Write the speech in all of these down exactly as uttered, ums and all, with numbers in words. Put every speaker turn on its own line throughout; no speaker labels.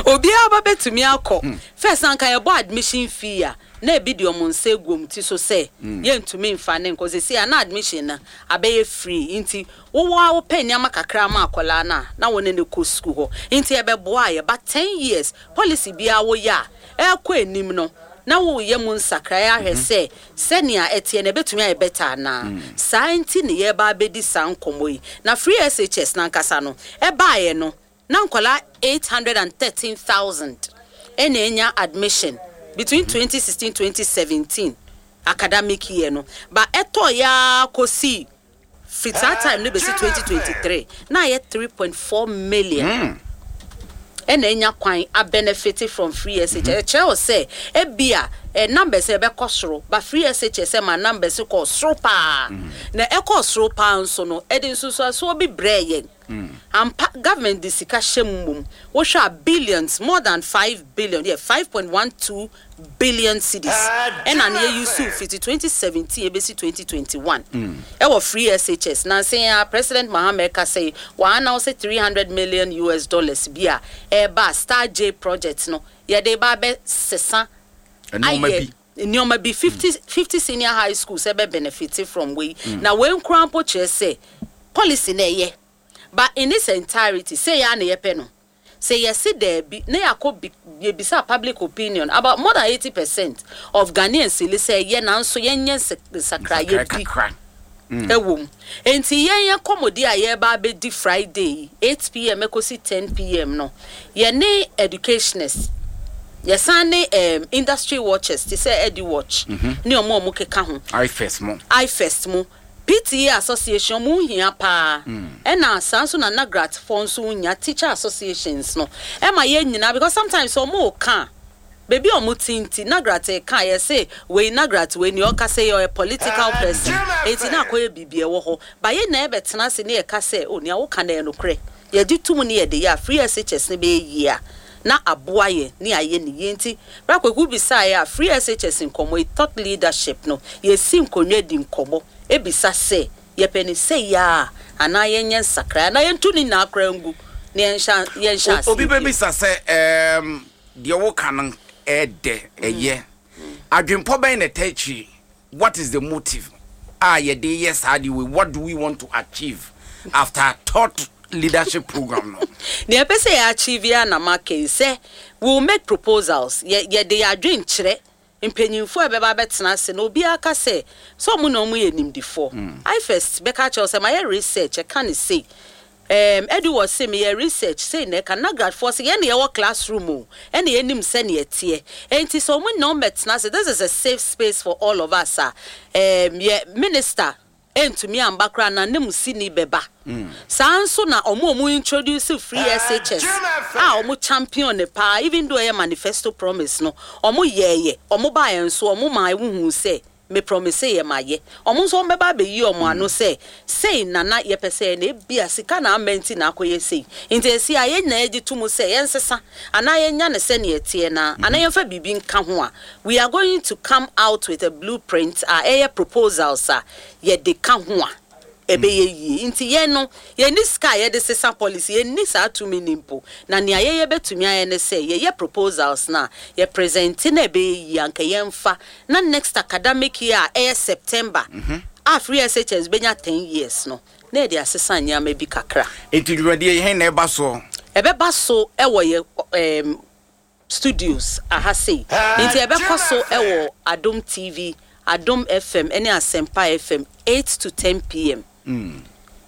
Obiara ba bɛtumi akɔ. First, anka yɛbɔ admission fee a, na ebi de ɔmo nsa egu ɔmo ti so sɛ yɛntumi nfa ne nkɔ. Sisi a na admission na abɛyɛ free, nti wowɔ a wopɛ nneɛma kakra ma akwadaa no a, na wɔne ne kɔ sukuu hɔ. Nti ɛbɛboa a yɛba ten years policy biara woyɛ a, ɛkɔ anim no na woyɛ mu nsakraeɛ ahwɛ sɛ sɛnea ɛteɛ no ɛbɛtumi ayɛ better anaa. Saa nti ne yɛba abɛdi saa nkɔmmɔ yi. Na free S H S nankasa no ɛbaeɛ no, na nkwadaa eight hundred and thirteen thousand ɛna enya admission between twenty sixteen twenty seventeen academic year no. Ba ɛtɔ yaa kɔsi firi saa time no bɛsi twenty twenty-three na ayɛ three point four million ɛna enya kwan a benefit from free S H S. Ɛkyerɛ wo sɛ ebia ɛ numbers ɛbɛkɔ soro, ba free S H S ma numbers kɔ soro paa. Na ɛkɔ soro paa nso no, ɛde nsusuasoɔ bi brɛ yɛn ampa. Government de sika hyɛ mu mom, wohwɛ a, billions, more than five billion, yeah, five point one two billion cedis ɛna ne yɛyi so fiti twenty seventeen ebesi twenty twenty-one ɛwɔ free S H S. Nansi a President Mahama ɛka sɛ wɔn announce three hundred million U S dollars bi a ɛɛba Star J project no, yɛde ba abɛ sesa
nneɛma
ayɛ
bi.
Nneɛma bi fifty fifty senior high schools ɛbɛ benefit from wei. Na wei nkura mpo kyerɛ sɛ policy na ɛyɛ, but in its entirety sɛ yɛ a na yɛpɛ no sɛ yɛsi daabi na yɛakɔ bi yɛbisa public opinion, about more than eighty percent of Ghanaians li sɛ ɛyɛ, nanso yɛnyɛ nsa- nsakraeɛ bi
kakra
ɛwɔ mu. Nti yɛn yɛ kɔmɔdi a yɛreba abɛdi Friday yi, eight p m ɛkɔsi ten p m no, yɛne educationists, yɛsan ne um, industry watchers te sɛ Edu Watch ne ɔmo a ɔmo keka ho,
ifes mo,
IFEST mu, P T A association mu hia paa, ɛna saa nso na NAGRAT foɔ nso nya, teacher associations no, ɛma yɛn nyinaa, because sometimes ɔmo ka beebi a ɔmo ti nti NAGRAT ka yɛsɛ wei NAGRAT wei ni ɔka sɛ ɔyɛ political person, eti na akɔyɛ biribi ɛwɔ hɔ ba. Yɛn na ɛbɛtena ase ne yɛka sɛ o nea woka na yɛ nokorɛ, yɛgye tum ne yɛde yɛ a, free S H S ne bɛyɛ yie a na aboa yɛ ne ayɛ ne yie. Nti brakwaku bisa yɛ a, free S H S nkɔmɔ yi, thought leadership no, yɛsi nkonnwa di nkɔmɔ ebisa sɛ yɛpɛ ne sɛ yie a, anaa yɛnyɛ nsakra, anaa yɛntu ne nyinaa koraa ngu na yɛnhyɛ yɛnhyɛ ase
Obi
bio.
Bɛbisa sɛ ɛɛm, deɛ woka no ɛɛdɛ, ɛyɛ adwempɔ bɛn na ɛta akyiri? What is the motive a yɛde yɛ saa de wei? What do we want to achieve after thought leadership program no?
Nea ɛpɛ sɛ yɛ achieve a na maka yi sɛ we will make proposals. Yɛ yɛde yɛ adwenkyerɛ mpanyinfoɔ a ɛbɛba abɛtena ase na obiara ka sɛ sɛ ɔmo na ɔmo yɛ nimdifoɔ. IFEST bɛka kyerɛw sɛ mayɛ research, ɛka ne sei, um, ɛde wɔ se meyɛ research sei, na ɛka NAGRATfoɔ sɛ yɛn na yɛwɔ classroom o, ɛna yɛnim sɛnea ɛteɛ. Enti sɛ ɔmo nyinaa ɔmmɛtena ase, this is a safe space for all of us a um, yɛ minister ɛntumi amba koraa na ne mu sini bɛba. Saa nso na ɔmo a ɔmo introduce free S H S a ɔmo champion ne paa, even though ɛyɛ manifesto promise no, ɔmo yɛɛyɛ, ɔmo baayɛ nso, ɔmo maa ehuhu sɛ me promise yɛ ma yɛ. Ɔmo nso ɔmo bɛba abɛyi ɔmo ano sɛ sei nana yɛpɛ sɛ na ebia sika na ama nti na akɔyɛ sei. Nti esi a yɛn nyinaa gye to mu sɛ yɛnsesa anaa yɛnya ne sɛnea ɛteɛ na anaa yɛmfa biribi nka ho a, we are going to come out with a blueprint a ɛyɛ proposals a yɛde ka ho a ɛbɛyɛ yie. Nti yɛn no, yɛnni sika a yɛde sesa policy, yɛnni saa tumi ni mpo, na nea yɛyɛ bɛtumi ayɛ ne sɛ yɛyɛ proposals na yɛ present na ɛbɛyɛ yie anka yɛmfa na next academic year a ɛyɛ September a free S H S bɛnya ten years no, na yɛde asesa nneɛma bi kakra.
Enti dwumadie yi, hɛn na ɛba soɔ?
Ɛbɛba so ɛwɔ yɛ um, studios aha sei. Nti ɛbɛkɔ so ɛwɔ Adom T V, Adom F M ɛne Asɛmpa F M, eight to ten p m.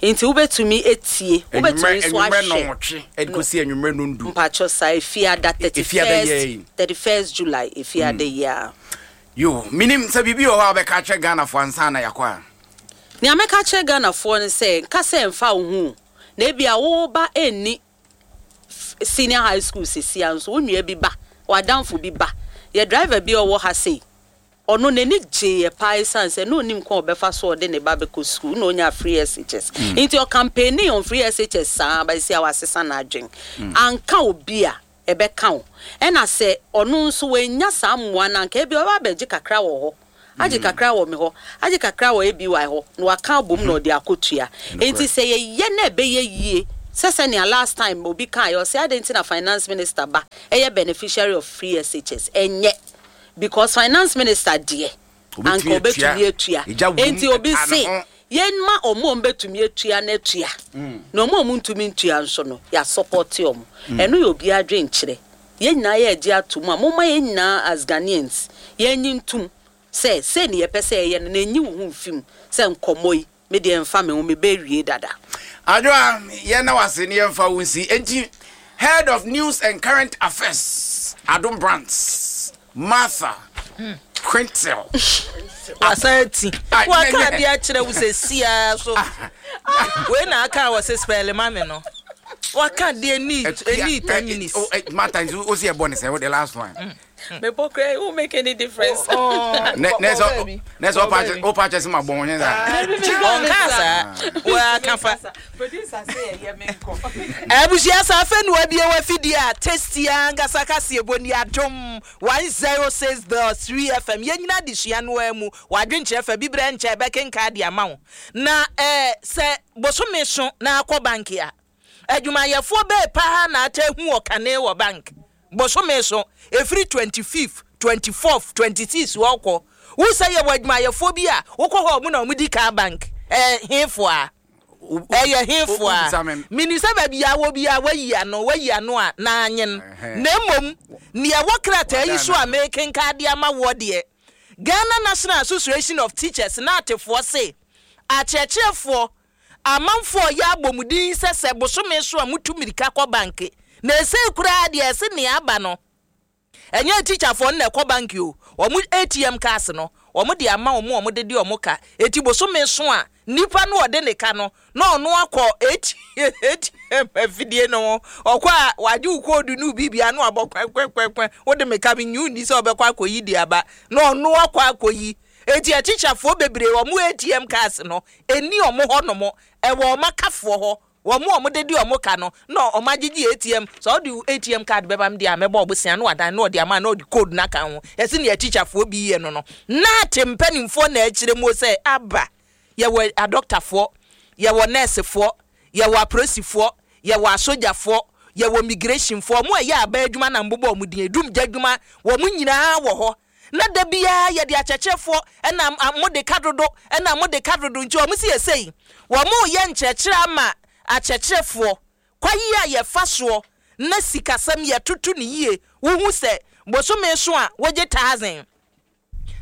Nti wobɛtumi etie, wobɛtumi nso
anwummerɛ
ahwɛ.
Nɔnwɔtwe ɛde kɔsi anwummerɛ nondu.
Mpakyɛw, saa Efiada thirty
Efiada yɛ yi.
first thirty first July, Efiada yi a.
Yo, menim sɛ biribi wɔ hɔ a wobɛka kyerɛ Ghanafoɔ ansa na yɛakɔ a.
Nea mɛka kyerɛ Ghanafoɔ no sɛ nka sɛ mfa wo ho na ebia woba ɛnni f- senior high school sesia nso, wo nua bi ba, w'adamfo bi ba, yɛ driver bi a ɔwɔ ha sei, ɔno n'ani gyeeɛ paa esiane sɛ na onim kwan a ɔbɛfa so ɔde ne ba bɛkɔ school na onya free S H S. Nti ɔcampaigning on free S H S saa bɛsi a wasesa n'adwen. Anka obi a ɛbɛka wo, ɛna sɛ ɔno nso wanya saa mmoa no, anka ebi ɔba abɛgye kakra wɔ hɔ, agye kakra wɔ me hɔ, agye kakra wɔ A B Y hɔ, na waka abom na ɔde akɔtua. Nti sɛ yɛyɛ na ɛbɛyɛ yie. Sɛ sɛnea last time obi kaeɛ, ɔsɛ adɛn nti na finance minister ba ɛyɛ beneficiary of free S H S? Ɛnyɛ because finance minister deɛ anka obetumi atua. Enti obi se yɛnma ɔmo a ɔmo atua no atua, na ɔmo a ɔmo ntumi ntua nso no, yɛa support ɔmo. Ɛno yɛ obi adwenkyerɛ. Yɛn nyinaa yɛ agye ato mu a, momma yɛn nyinaa as Ghanaians yɛnyi ntum sɛ sɛ ne yɛpɛ sɛ ɛyɛ no, na enyi wo ho mfim sɛ nkɔmmɔ yi, me deɛ mfa me ho, mebɛwie dada.
Adwoa, yɛn na wase ne yɛmfa wo nsi. Enti head of news and current affairs, Adom Brands, Martha Quintel.
Wasan ti waka adeɛ akyerɛ wo sɛ siaa so wei na aka a wɔsɛ spell ma me no, waka deɛ ni ni ten minutes.
Martha nso o si ɛbɔ ne sɛ wo the last one.
Mebɔ kura, it won't make any difference.
Ne ne sɛ ne sɛ ɔpa ɔpa kyɛ sɛ ma bɔn ho saa.
Ɔnka saa, waka fa.
Producer sɛ ɛyɛ me nkɔ.
Abusua, sa afɛ no abie wafidie a tasty ankasa kaseɛ bɔ ni Adom one zero six dot three F M. Yɛn nyinaa de sua no ara mu wadwenkyerɛ fa bi berɛ nkyɛ bɛkenka de ama wo. Na ɛɛ sɛ bosome so na akɔ bank a, adwumayɛfoɔ bɛɛ paa na ata ehu wɔ kane wɔ bank bosome so, efiri twenty fifth, twenty fourth, twenty six wɔkɔ. Wusɛ yɛ wɔ adwumayɛfoɔ bi a wokɔ hɔ, ɔmo na ɔmo di kaa bank. Ɛɛ hefo a ɛyɛ hefo a mini sɛ baabi a wɔ bi a wayi ano, wayi ano a na anyen. Na mmom nea ɛwɔ krataa yi so a mekenka de ama woɔ deɛ, Ghana National Association of Teachers na atefoɔ se akyerɛkyerɛfoɔ amanfoɔ yɛ abɔmuden sɛ sɛ bosome so a mutu mirika kɔ bank, na ɛsɛ koraa deɛ ɛsɛ nea aba no, ɛnyɛ tikyafoɔ no na ɛkɔ bank o. Wɔn A T M cards no, wɔn de ama wɔn a wɔn de de wɔn ka. Eti bosome so a, nipa no ɔde ne ka no na ɔno akɔ A T M afidie no ho. Ɔkɔ a, wagye wo code no bibia no abɔ kwɛnkwɛnkwɛnkwɛn, wode me ka me nyi ni sɛ ɔbɛkɔ akɔyi de aba na ɔno akɔ akɔyi. Eti atikyafoɔ bebree, wɔn A T M cards no eni wɔn hɔ nom, ɛwɔ wɔn akafoɔ hɔ, wɔn a wɔn de di wɔn ka no na wɔn agyegye A T M. Sɛ ɔde A T M card bɛba mi deɛ a, mɛbɔ ɔbosia na wadan na ɔde ama na ɔde code n'aka ho. Yɛsi nea tikyafoɔ bi yɛ no no na ate mpanimfoɔ na akyerɛ mu sɛ aba. Yɛwɔ adɔktafoɔ, yɛwɔ nɛɛsefoɔ, yɛwɔ apolisifoɔ, yɛwɔ asogyafoɔ, yɛwɔ migrationfoɔ, wɔn a ɛyɛ aba adwuma na mbobɔ wɔn din edum gya adwuma, wɔn nyinaa wɔ hɔ. Na da biara yɛde akyerɛkyerɛfoɔ ɛna mo de ka dodo, ɛna mo de ka dodo. Nti wɔn si yɛ sɛyi, wɔn yɛ nkyerɛkyerɛ ama akyerɛkyerɛfoɔ kwayi a yɛfa soɔ na sikasɛm yɛtoto ne yie. Wohu sɛ bosome so a wogye thousand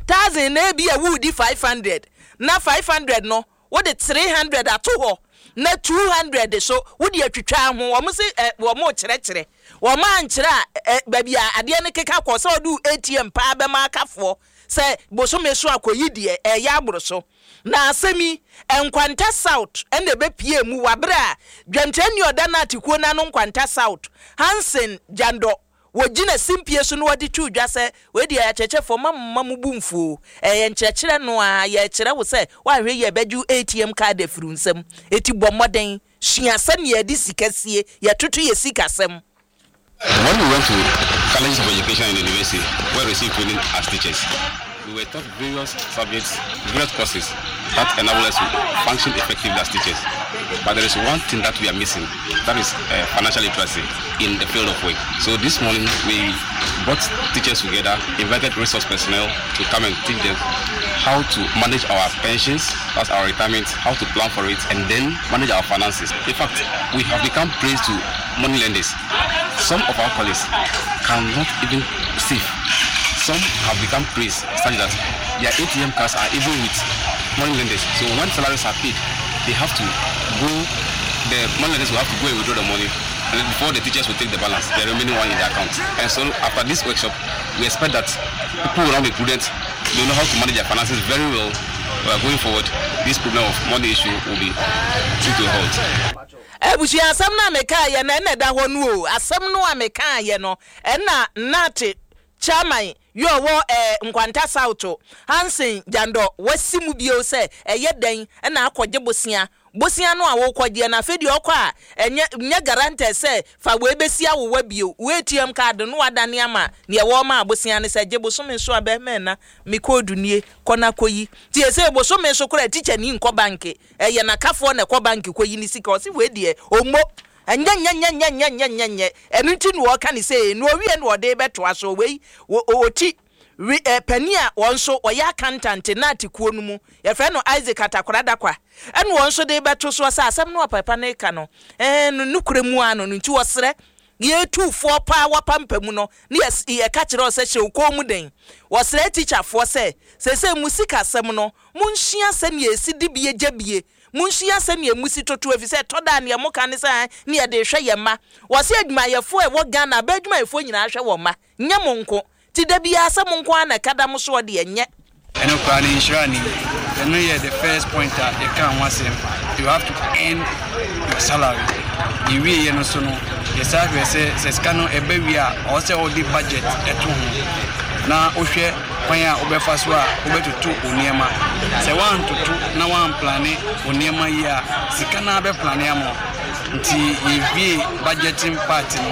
thousand na ebi a wudi five hundred na five hundred no, wode three hundred ato hɔ na two hundred so wode atwitwa ho. Wɔn se ɛ wɔn kyerɛkyerɛ, wɔn ankyerɛ a, ɛ baabi a adeɛ no keka kɔ sɛ ɔde A T M paa bɛma akafoɔ sɛ bosome so akɔyi deɛ ɛyɛ aboro so. Na asɛm yi, Nkwanta South ɛna ɛbɛpie mu wabere a dwamkyerɛni ɔda no atekuo n'ano Nkwanta South, Hansen Gyandɔ, wɔgyina simpie so na wɔde tu dwa sɛ wei deɛ, akyerɛkyerɛfoɔ ma mma mo bu mfuo. Ɛyɛ nkyerɛkyerɛ no a yɛkyerɛ wo sɛ woahwɛ yɛ bɛgye A T M card afiri wo nsam. Eti bɔ mmɔden sua sɛnea yɛde sika sie, yɛtoto yɛ sikasɛm.
When we went to colleges of education and university, where we received training as teachers, we were taught various subjects, various courses that enable us to function effectively as teachers. But there is one thing that we are missing, that is uh, financial literacy in the field of work. So this morning we brought teachers together, invited resource personnel to come and teach them how to manage our pensions, that's our retirement, how to plan for it, and then manage our finances. In fact, we have become prey to money lenders. Some of our colleagues cannot even save. Some have become prey such that their A T M cards are even with money lenders. So when salaries are paid, they have to go, the money lenders will have to go and withdraw the money, and then before the teachers will take the balance, the remaining one in the account. And so after this workshop, we expect that people will now be prudent, they know how to manage their finances very well. Uh, going forward, this problem of money issue will be put to a halt.
Abusua, asɛm no a mekaayɛ no ɛna ɛda hɔ no o. Asɛm no a mekaayɛ no ɛna nate chairman yɛ ɔwɔ ɛɛ Nkwanta South, Hansen Gyandɔ, wasi mu bio sɛ ɛyɛ dɛn ɛna akɔgye bosia. Bosia no a wɔkɔgyeɛ no, afei deɛ ɔkɔ a, ɛnyɛ nyɛ guarantee sɛ fa wei bɛsi awowa bio. Wo A T M card no wadane ama neɛ wɔma abosia no sɛ gye bosome so a bɛmɛ na me code nie, kɔ na kɔyi. Nti ɛsɛ bosome so koraa tikya ni nkɔ bank, ɛyɛ n'akafoɔ na ɛkɔ bank kɔyi ne sika. Ɔsi wei deɛ ɔmo Ɛnyɛ nyɛ nyɛ nyɛ nyɛ nyɛ nyɛ nyɛ. Ɛno nti na wɔka ne sɛ na owie na wɔde bɛtoa so. Wei wɔti panin a wɔn nso wɔyɛ accountant na atikuo no mu, yɛfrɛ no Isaac Atakora Dakwa, ɛna wɔn nso de bɛto soɔ sɛ asɛm no ɔpapa no ka no ɛɛ no nukure mu ano no. Nti wɔsrɛ yɛtufoɔ paa wɔpampa mu no ne yɛka kyerɛ sɛ hyɛ wo kɔn mu den. Wɔsrɛ tikyafoɔ sɛ sɛsɛ mu sikasɛm no, monsua sɛnea ɛsi di bie gya bie, monsua sɛnea mu si toto, ɛfiri sɛ ɛtɔ da a neɛ moka ne sɛ ne yɛde hwɛ yɛn mma. Wɔsɛ adwumayɛfoɔ a ɛwɔ Ghana abɛ, adwumayɛfoɔ nyinaa hwɛ wɔn mma, nyɛ mo nko. Nti da biara sɛ mo nko ara na ɛka da mo soɔ deɛ, nyɛ.
Ɛno koraa no nhyira ni. Ɛno yɛ the first point a yɛka ho asɛm: you have to earn your salary. Yɛwieɛ no so no, yɛsa hwɛ sɛ sɛ sika no ɛbɛ wie a, ɔwɔ sɛ wode budget ɛto ho na wohwɛ kwan a wobɛfa so a wobɛtoto wo nneɛma. Sɛ woantoto na woamplan wo nneɛma yi a, sika no bɛplan ama wo. Nti yɛwie budgeting part no,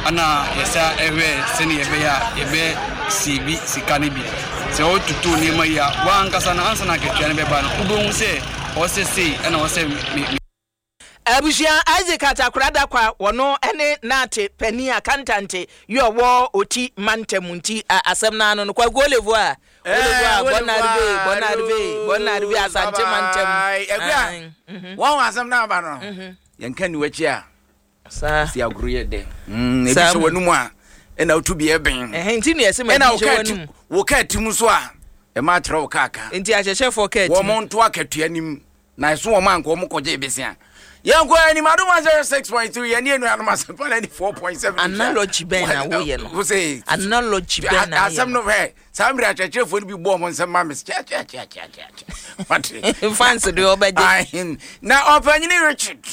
ana yɛsa ɛhwɛ sɛne yɛbɛyɛ a yɛbɛsave sika no bi. Sɛ wototo nneɛma yi a, woankasa no, ansa na akatua no bɛba no, wobɛhu sɛ ɔwɔ sɛ sei ɛna ɔwɔ sɛ me
Abusua, Isaac Atakora Dakwa, wɔno ne naate panin accountant yi ɔwɔ Oti mantam. Nti asɛm no ano no, Kwaku Olevo a Olevo a, bon arrivée, bon arrivée, bon arrivée Asante mantam.
Akua, wɔn asɛm no aba no, yɛnka ni w'akyi a
saa
si agoro yɛ dɛ. Ebi hyɛ w'anum a ɛna wotu bi ɛbɛn.
Nti ne yɛsɛ ma
ɛna
bi hyɛ w'anum.
Wo kaa tim so a ɛma akyerɛ wo kaa ka.
Nti ahyehyɛfoɔ kaa tim.
Wɔn nto akatua nim na ɛso wɔn anka wɔn kɔgye besia. Yɛnkɔ anim. Adom one zero six point three, yɛne anuanom Asɛmpa ninety four point seven.
Analogy bɛn na woyɛ no?
Wo sɛ
Analogy bɛn na
asɛm no, hwɛ, saa mmerɛ akyerɛkyerɛfoɔ no bi bɔɔ mo nsɛm ma me kyɛkyɛkyɛkyɛkyɛ. Wate?
Fans de ɔbɛgye.
Ahen. Na ɔpanyini Richard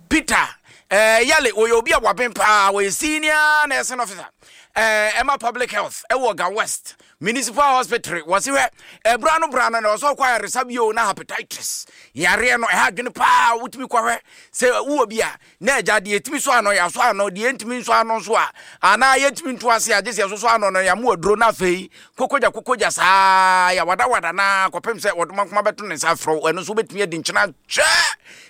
Peter eh, Yale, wɔyɛ obi a waben paa. Wɔyɛ senior nursing officer eh, ɛma public health ɛwɔ Ga West Municipal Hospital. Wɔse hwɛ, ɛbra no bra no na ɔsɛ ɔkɔ ayaresa bio na hepatitis yareɛ no ɛha adwene paa. Wotumi kɔhwɛ sɛ wowɔ bi a, na agya deɛ ɛtumi so ano, yɛaso ano, deɛ ɛntumi nso ano nso a, anaa yɛntumi nto ase a, gye sɛ yɛsoso ano no, yɛamo aduro no. Afei kokogya kokogya saa, yɛwadawada na kɔpem sɛ wɔdoma nkoma bɛto ne nsa afrɛ wo. Ɛno nso wobɛtumi adi nkyena kyɛ.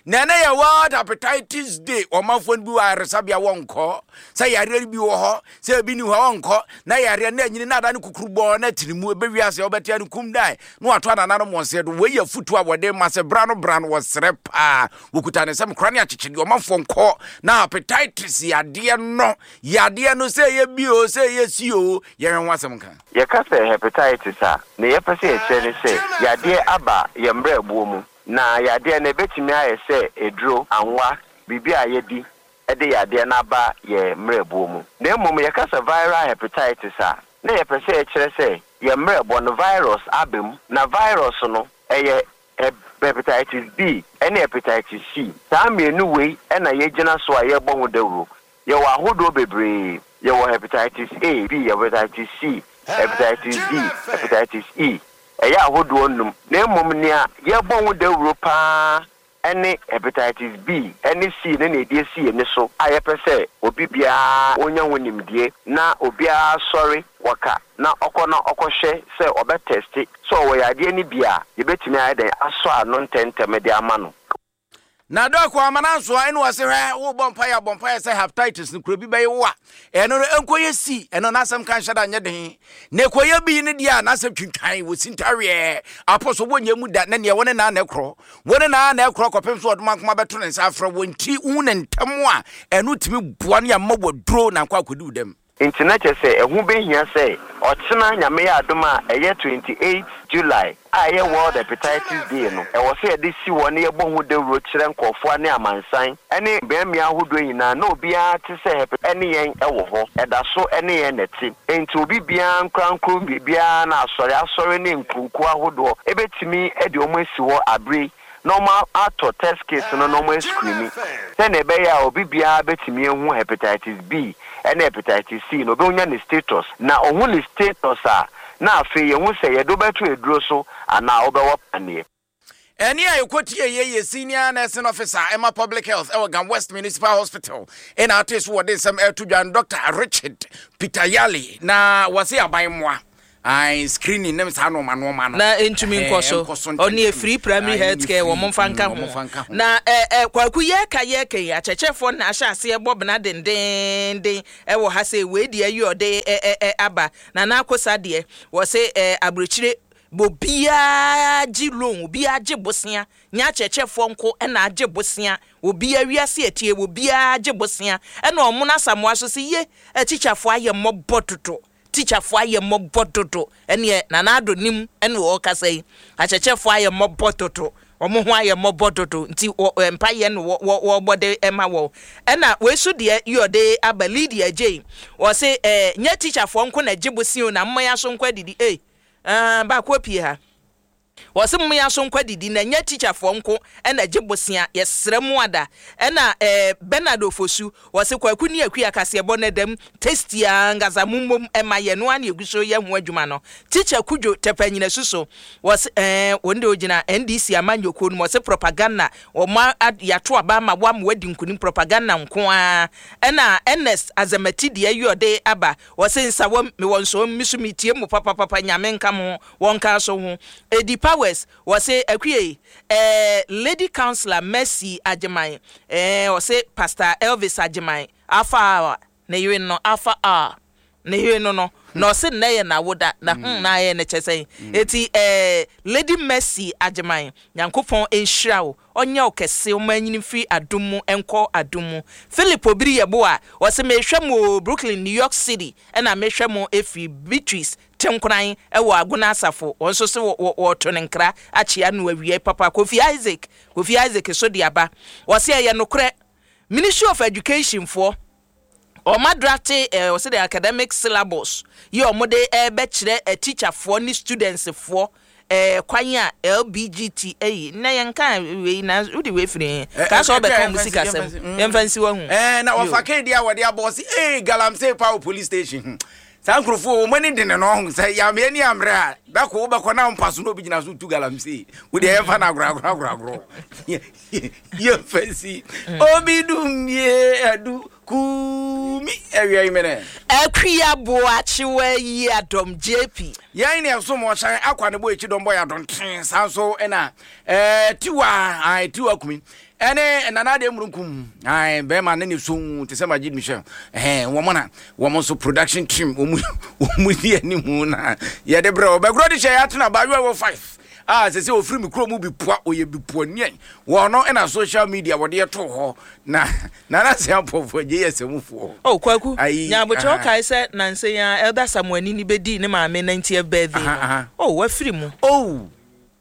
Na ɛnɛ yɛ World Hepatitis Day. Ɔmanfoɔ no bi wɔ ayaresabea, wɔnkɔ sɛ yareɛ no bi wɔ hɔ, sɛ ebi ni hɔ a wɔnkɔ, na yareɛ no anyini na ada no kukuru bɔɔ na tiri mu ɛbɛwi ase, wɔbɛtea no kum dan na wato anananom wɔn sɛ do. Wei yɛ afotu a wɔde ma sɛ bra no bra no, wɔsrɛ paa, wɔkuta ne nsɛm kora ne akyekyedeɛ. Ɔmanfoɔ nkɔ na hepatitis yadeɛ no, yadeɛ no, sɛ ɛyɛ bi o, sɛ ɛyɛ si o, yɛhwɛ ho asɛm nka.
Yɛka sɛ hepatitis a, ne yɛpɛ sɛ yɛkyerɛ ne sɛ yadeɛ aba yɛn mmerɛboɔ mu, na yadeɛ no ɛbɛtumi ayɛ sɛ eduro, anwa, biribi a yɛdi ɛde yadeɛ no aba yɛn mmerɛboɔ mu. Na mmom yɛka sɛ viral hepatitis a, na yɛpɛ sɛ yɛkyerɛ sɛ yɛn mmerɛboɔ no virus aba mu, na virus no ɛyɛ hepatitis B ɛne hepatitis C. Saa mmienu wei ɛna yɛgyina so a yɛrebɔ ho dawuro. Yɛwɔ ahodoɔ bebree: yɛwɔ hepatitis A, B, hepatitis C, hepatitis D, hepatitis E. Ɛyɛ ahodoɔ num. Na mmom nea yɛbɔ ho dawuro paa ɛne hepatitis B ɛne C ne na ɛde esi yɛn so a yɛpɛ sɛ obi biara onya ho nimdie na obiara sɔre wɔka na ɔkɔ na ɔkɔhwɛ sɛ ɔbɛtest sɛ ɔwɔ yadeɛ no bi a, yɛbɛtumi ayɛ dɛn asɔ ano ntɛmntɛm de ama no.
Na doc amana nso a ɛne wɔse hwɛ, wobɔ mpaeɛ abɔ mpaeɛ sɛ hepatitis no kuro bi bɛyɛ wo a, ɛno no ɛnkɔyɛ si. Ɛno n'asɛm ka nhyɛ da nyɛ den, na ɛkɔyɛ bi no deɛ a, n'asɛm twintwan wɔ sintaweɛ apɔ so wɔnyɛ mu da, na neɛ wɔne naa na ɛkorɔ, wɔne naa na ɛkorɔ kɔpem so ɔdoma nkoma bɛto ne nsa afrɛ wɔ. Nti wohu ne ntɛm a, ɛno tumi boa no yɛma wɔduro na nkɔ akɔdi wo dɛm.
Nti na kyerɛ sɛ ɛho bɛhia sɛ ɔkyena, Nyame yɛ adom a, ɛyɛ twenty-eight July a ɛyɛ World Hepatitis Day no, ɛwɔ sɛ yɛde si hɔ na yɛbɔ ho dawuro kyerɛ nkɔɔfoɔ ne amansan ne mmeammea ahodoɔ nyinaa, na obiara te sɛ hep ɛne yɛn ɛwɔ hɔ, ɛda so ɛne yɛn nɛte. Nti obi biara nkorankoro biribiara na asɔre asɔre ne nkurokuo ahodoɔ ɛbɛtumi de wɔn asi hɔ abere na wɔn atɔ test kit no na wɔn ascreen sɛnea ɛbɛyɛ a obi biara bɛtumi ehu hepatitis B ɛne hepatitis C na obɛnya ne status. Na ɔhu ne status a, na afei yɛhu sɛ yɛde wobɛto aduro so anaa wobɛwɔ paneɛ.
Ɛne a yɛkɔtie yɛ yɛ senior nursing officer ɛma public health ɛwɔ Ga West Municipal Hospital, ɛna ate so wɔde nsɛm ɛto dwa, Doctor Richard Peter Yali. Na wɔse aban mmoa, Ai, screening nem saa nɔɔma nɔɔma no
na ntumi nkɔ so. Ɔne efiri primary health care wɔn mfa nka ho. Na ɛ ɛ Kwaku, yɛka yɛka yi, akyerɛkyerɛfoɔ na ahyɛ aseɛ bɔ bena dendenden ɛwɔ ha sɛ wei deɛ yi ɔde ɛ ɛ ɛ aba na n'akosa deɛ wɔsɛ ɛ aburokyire obiara gye loan, obiara gye bosea, nyɛ akyerɛkyerɛfoɔ nko ɛna agye bosea. Obiara wiase etie, obiara gye bosea. Ɛna ɔmo n'asamoa so sɛ ye atikyafoɔ ayɛ mmɔbɔ dodo, tikyafoɔ ayɛ mmɔbɔ dodo. Ɛneɛ Nana Ado nim ɛna ɔrekasa yi, akyerɛkyerɛfoɔ ayɛ mmɔbɔ dodo, wɔn ho ayɛ mmɔbɔ dodo, nti wɔ mpayɛ no wɔ wɔ wɔbɔ de ɛma wɔn. Ɛna wei so deɛ yi ɔde aba, Lydia Jane, wɔse ɛɛ nyɛ tikyafoɔ nko na gye bosea o, na mmea so nko adidi. Ee, ɛɛ baako pie ha, wɔsi mmea so nkɔ didi na nyɛ tikyafoɔ nko ɛna gye bosea, yɛsrɛ mu ada. Ɛna ɛɛ Bernard Ofosu, wɔsi Kwaku ne Akua kaseɛbɔ ne dɛm tasty ankasa, mu mmom ɛma yɛn no ana egu so yɛ ho adwuma no. Teacher Kudwo Tɛpɛ nyina suso, wɔsi ɛɛ wɔn de ogyina N D C amanyɔkuo no mu, wɔsi propaganda wɔn yɛato aba ama wɔn ama wɔadi nkunim, propaganda nko ara. Ɛna Ernest Azamati deɛ yi ɔde aba, wɔsi nsawam mewɔ nsɔm mi so mi tie mu papapapa, Nyame nka mo, wɔn ka so ho. Edi Powers, wɔsi Akue, ɛɛ Lady Councillor Mercy Agyeman, ɛɛ wɔsi Pastor Elvis Agyeman afa a ne yere no afa a ne yere no no na ɔsi nnɛ yɛ n'awoda na hmm na ayɛ ne kyɛ sɛn. Eti ɛɛ Lady Mercy Agyeman, Nyankopɔn nhyira wo, ɔnyɛ wo kɛse, ɔmo anyini firi adum mu nkɔ adum mu. Philip Obiri yɛ bo a ɔsi mehwɛ mo wɔ Brooklyn, New York City, ɛna mehwɛ mo efiri Beatrice Tenkoran ɛwɔ Agona Asafo. Wɔn nso so wɔ wɔɔto ne nkra akyea no awie papa. Kofi Isaac, Kofi Isaac so de aba, wɔsi ɛyɛ nokorɛ, Ministry of Education foɔ ɔmo draft ɛɛ ɔsi the academic syllabus yi, ɔmo de ɛbɛkyerɛ ɛ teacherfoɔ ne studentsfoɔ ɛɛ kwan a L B G T ɛyi na yɛn kan wei na wodi wei firi kaa sɛ ɔbɛka ɔmo sika sɛm, yɛn fa nsi wɔ ho.
Ɛɛ na wɔfa keedi a wɔde abɔ ɔsi ee galamsey pa wɔ police station hmm. Saa nkurɔfoɔ wɔn ani de ne no ɔho sɛ yameɛ ni ammerɛ a dako wobɛkɔ na mpa so na obi gyina so tu galamsey, wode yɛmfa no agorɔ agorɔ agorɔ agorɔ, yɛmfa si obi dum yie adu kumi awia yi mene.
Akua Boakyewa yi adɔm J P.
Yɛn ne ɛsom ɔhyɛn akwa ne bɔ akyi dɔm bɔ yɛ adɔnten saa nso ɛna ɛɛ tiwa ae tiwa kumi ɛne Nana Adeɛ Murunkum ae bɛrima ne ne so te sɛ Magye Michel ɛhɛn wɔn na wɔn nso production team wɔn wɔn di anim na yɛde brɛ ɔbɛgorɔ de hyɛ yɛ atena abaayewa wɔ five a sɛ sɛ ofiri mi kurom bi pua oyɛ bi pua nua wɔn no ɛna social media wɔde ɛto hɔ na Nana sɛ apɔfoɔ gye yɛ sɛmufoɔ.
Oh, Kwaku.
Ayi,
nyabokyerɛ
aha.
Ɔkae sɛ nansa yi a Elder Samuel ni bɛdii ne maame ninetieth birthday
Aha,
no.
aha.
Oh, wafiri mu.
Oh.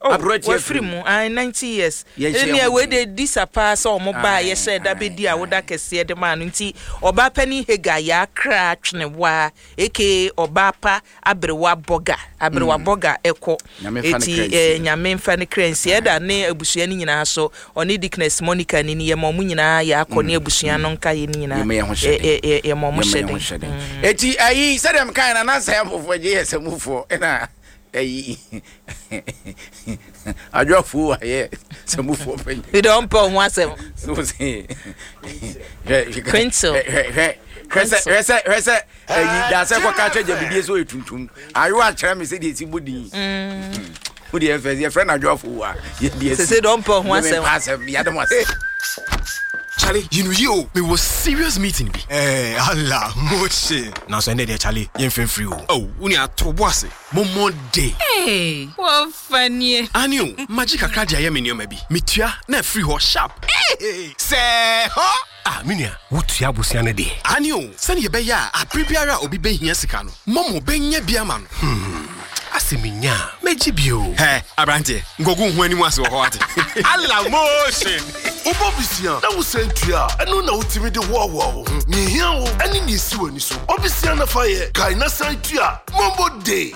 Oh,
Aberɛkyɛ.
Wafiri mu ah, ninety years.
Yɛnhyɛ
ɛnea
ho
wei
den.
de di sa paa sɛ ɔmo baa
Aye,
yɛhyɛ da
aye,
bɛdi a woda kɛseɛ de maa no, nti ɔbaa panin Hega yɛakra twenewa aka ɔbaa pa aberewa bɔga, aberewa bɔga ɛkɔ.
Nyame mfa ne
eti
kra nsie.
eh, Nyame mfa ne kra nsie. Ɛda ne abusua no nyinaa so, ɔne Deaconess Monica ni ni yɛma ɔmo nyinaa yɛakɔ ne abusua no nka yɛ no nyinaa.
Yɛma yɛn ho hyɛ den.
Ɛ- ɛ- ɛ- yɛma ɔmo
Yɛma
hyɛ
yɛn ho
den.
hyɛ den. Eti ayi sɛdeɛ mekae na nansa yɛ mpɔfoɔ gye yɛ sɛmufoɔ ɛna ayi adwoafuo ayɛ sɛmufoɔ panyin.
Mede ɔmpɛ ɔho asɛm.
So sɛ hwɛ
Quintil.
Hwɛ hwɛ hwɛ sɛ hwɛ sɛ hwɛ sɛ ayi daasɛ kɔka kyerɛ gya bibie sɛ ɔyɛ tuntum ayo akyerɛ me sɛdeɛ ɛsi bɔ din wode yɛfɛ yɛfrɛ no adwoafuo a yɛde
Sese de ɔmpɛ ɔho asɛm.
Mempɛ asɛm, yɛde mo asɛm.
Charlie, you know you, me was serious meeting bi.
Eh, Allah, motion.
Nanso ɛnɛ deɛ, Charlie, yɛmfɛ mfiri o. Oh, wo nua to bo ase. Momo day.
Hey, wɔfa nie.
Ani o, magye kakra de ayɛ me nneɛma bi. Metua na afiri hɔ sharp. Hey, sɛ hɔ. Ah, me nua, wotua abusua no deɛ. Ani o, sɛnea ɛbɛyɛ a abere biara a obi bɛhia sika no, Momo bɛnya bi ama no. Hmm,
Asɛ menya a, mɛgye bio.
Hɛ, aberanteɛ, nkɔgu ho anim ase wɔ hɔ ate.
Allah, motion.
Wobɔ bisia na wosan tua a, ɛno na wotumi de hoahoa wo ho. Nea ehia wo ɛne nea esi w'ani so. Ɔbisia na fa yɛ kae na san tua. Momo day.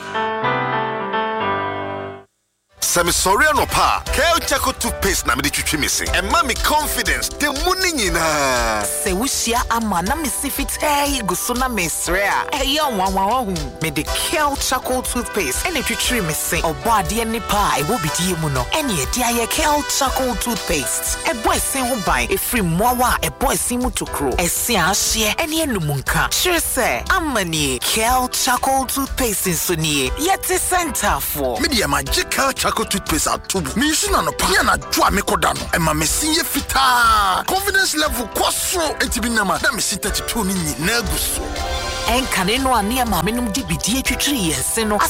Sɛ mesɔre anɔpa a, Kel Charcoal.
Toothpaste na mede twitwi me se. Ɛma me confidence da mu ne nyinaa.
Sɛ wohyia ama na mesi fitaa yi gu so na mesrɛ a, ɛyɛ nwanwa wahu. Mede Kel Charcoal Toothpaste ɛna twitwiri me se. Ɔbɔ adeɛ nipa a ɛwɔ bidie mu no, ɛne ɛde ayɛ Kel Charcoal Toothpaste. Ɛbɔ ɛsen ho ban ɛfiri mmoawa a ɛbɔ ɛsen mu tokuro, ɛse a ahyeɛ ɛne anum nka. Kyerɛ sɛ, ama nie, Kel Charcoal Toothpaste nso nie. Yɛte sɛ ntaafoɔ.
Me deɛ magye Kel Charcoal Toothpaste ato mu. Mensu na anɔpa ne anadwo a mekɔda no, ɛma me se yɛ fitaa. Confidence level kɔ soro. Enti bi nam a na me se thirty-two no nyinaa gu so.
Ɛnkane no a ne maame nom de bidie twitwiri yɛn se no asa.